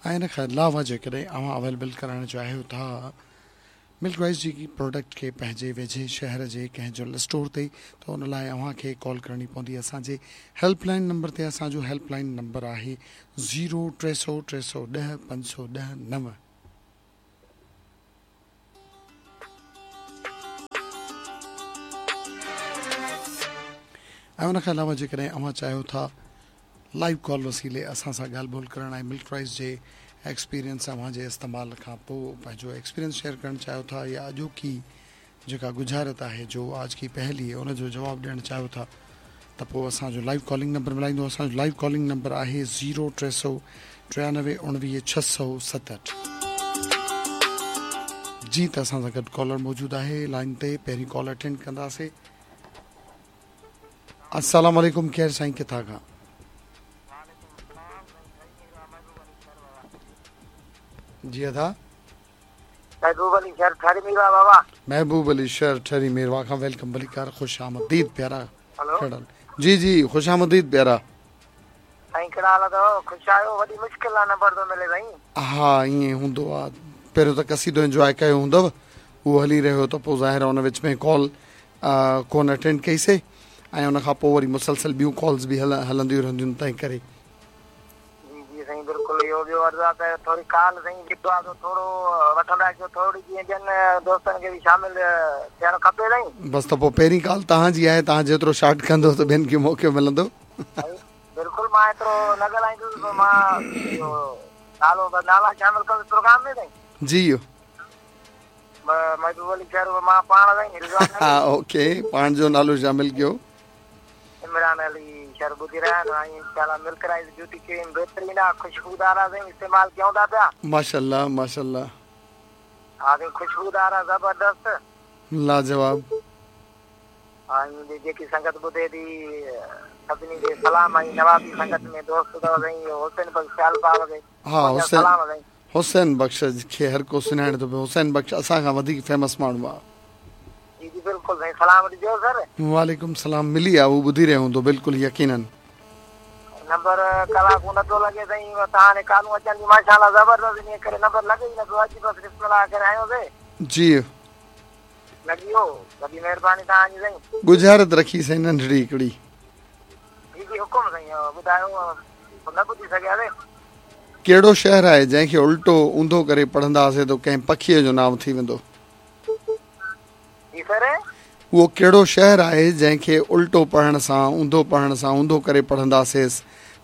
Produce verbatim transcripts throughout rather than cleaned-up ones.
ऐं इन खां अलावा जेकॾहिं अव्हां अवेलेबल कराइण चाहियो था मिल्क राइस जी प्रोडक्ट खे पंहिंजे वेझे शहर जे कंहिं जनरल स्टोर ते त उन लाइ अव्हां खे कॉल करणी पवंदी असांजे हेल्पलाइन नंबर ते। असांजो हेल्पलाइन नंबर आहे ज़ीरो टे सौ टे सौ ॾह पंज सौ ॾह नव। ऐं उन खां अलावा जेकॾहिं अव्हां चाहियो था लाइव कॉल वसीले असां सां ॻाल्हि ॿोल करणु ऐं मिल्क राइस जे एक्सपीरियंस अव्हां जे इस्तेमाल खां पोइ पंहिंजो एक्सपीरियंस शेयर करणु चाहियो था या अॼोकी जेका गुज़ारत आहे जो आज की पहली है उनजो जवाबु ॾियणु चाहियो था त पोइ असांजो लाइव कॉलिंग नंबर मिलाईंदो। असांजो लाइव कॉलिंग नंबर आहे ज़ीरो टे सौ टियानवे उणिवीह छह सौ सतहठि। जी त असां सां गॾु कॉलर मौजूदु आहे लाइन ते, पहिरीं कॉल अटेंड कंदासीं। अस्सलाम वालेकुम, केरु साईं किथां खां? जी अदा महबूब अली शहर ठरी मीरवा बाबा। महबूब अली शहर ठरी मीरवा खां welcome भलीकार, खुश आमदीद प्यारा। हेलो जी जी खुश आमदीद प्यारा। साईं कहिड़ा हाल अथव? ख़ुशि आहियो? वॾी मुश्किल आहे नंबर थो मिले साईं। हा ईअं हूंदो आहे, पहिरियों त कसीदो इंजॉय कयो हूंदव, उहो हली रहियो त पोइ ज़ाहिर आहे उन विच में कॉल कोन अटेंड कईसीं ऐं उन खां पोइ वरी मुसलसल ॿियूं कॉल्स बि हल हलंदियूं रहंदियूं आहिनि, तंहिं करे। जी जी साईं बिल्कुलु। इहो ॿियो अर्ज़ु आहे त थोरी कॉल साईं जेको आहे थोरो वठंदा कयो, थोरी जीअं ॿियनि दोस्तनि खे बि शामिल थियणु खपे साईं। बसि त पोइ पहिरीं कॉल तव्हांजी आहे, तव्हां जेतिरो शॉर्ट कंदो त ॿियनि खे मौक़ो मिलंदो। बिल्कुलु मां एतिरो न ॻाल्हाईंदुसि, पोइ मां इहो नालो नाला शामिल कंदुसि प्रोग्राम में साईं। जी महबूब अली शहर मां पाण साईं। हा ओके, पाण जो नालो शामिल कयो। इमरान अली शहर ॿुधी रहिया आहिनि ऐं इंशाअल्लाह मिल्क राइस ब्यूटी क्रीम बहितरीन आहे, ख़ुशबूदार आहे साईं, इस्तेमालु कयूं था पिया। माशाअल्लाह माशाअल्लाह। हा साईं ख़ुशबूदार आहे, ज़बरदस्त लाजवाब। हा ऐं जेकी संगत ॿुधे थी सभिनी खे सलाम। ऐं नवाबी संगत में दोस्त अथव साईं हुसैन बख़्श सियाल साहिब खे। हा हुसैन हुसैन बख़्श खे हर को सुञाणे थो पियो। हुसैन बख़्श असां खां वधीक फेमस माण्हू आहे। जी जी बिल्कुलु साईं, सलाम ॾिजो सर। वालेकुम सलाम। मिली आहे, उहो ॿुधी रहियो हूंदो बिल्कुलु यकीनन। नंबर कलाक नथो लॻे साईं, तव्हां कालूं अचनि थी माशाअल्लाह ज़बरदस्त, इन करे नंबर लॻे ई नथो। अॼु बसि बिस्मिल्लाह करे आयोसीं। जी लॻी वियो, वॾी महिरबानी तव्हांजी साईं। गुज़ारत रखी साईं नंढड़ी हिकिड़ी। जी जी हुकुम साईं, ॿुधायो न ॿुधी सघियासीं। कहिड़ो शहर आहे जंहिंखे उल्टो ऊंधो करे पढ़ंदासीं त कंहिं पखीअ जो नांव थी वेंदो? जी सर उहो कहिड़ो शहर आहे जंहिंखे उल्टो पढ़ण सां ऊंधो पढ़ण सां ऊंधो करे पढ़ंदासीं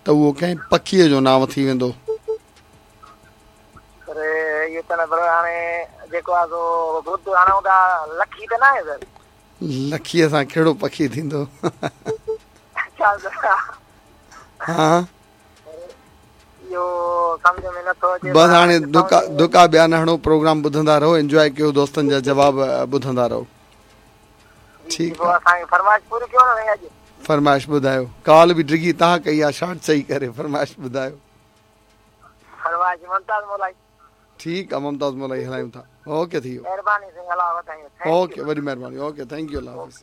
त उहो कंहिं पखीअ जो नांव थी वेंदो? सर इहो त न, पर हाणे जेको आहे सो ॿुध हणूं था, लखी त न आहे सर? लखीअ सां कहिड़ो पखी थींदो? अच्छा सर। हा इहो सम्झ में नथो अचे। बसि हाणे दुका दुका ॿिया न हणो, प्रोग्राम ॿुधंदा रहो, इंजॉय कयो, दोस्तनि जा जवाब ॿुधंदा रहो। ठीकु आहे, असांखे फरमाइश पूरी कयो न साईं अॼु। फरमाइश ॿुधायो, कॉल बि डिघी तव्हां कई आहे, शॉर्ट चई करे फरमाइश ॿुधायो। फरमाइश मुमताज़ मोलाई। ठीकु आहे, मुमताज़ मोलाई हलायूं था। ओके थी वियो, महिरबानी साईं, अलाह वधाईं। ओके वॾी महिरबानी, ओके thank you, अलाह हाफ़िज़।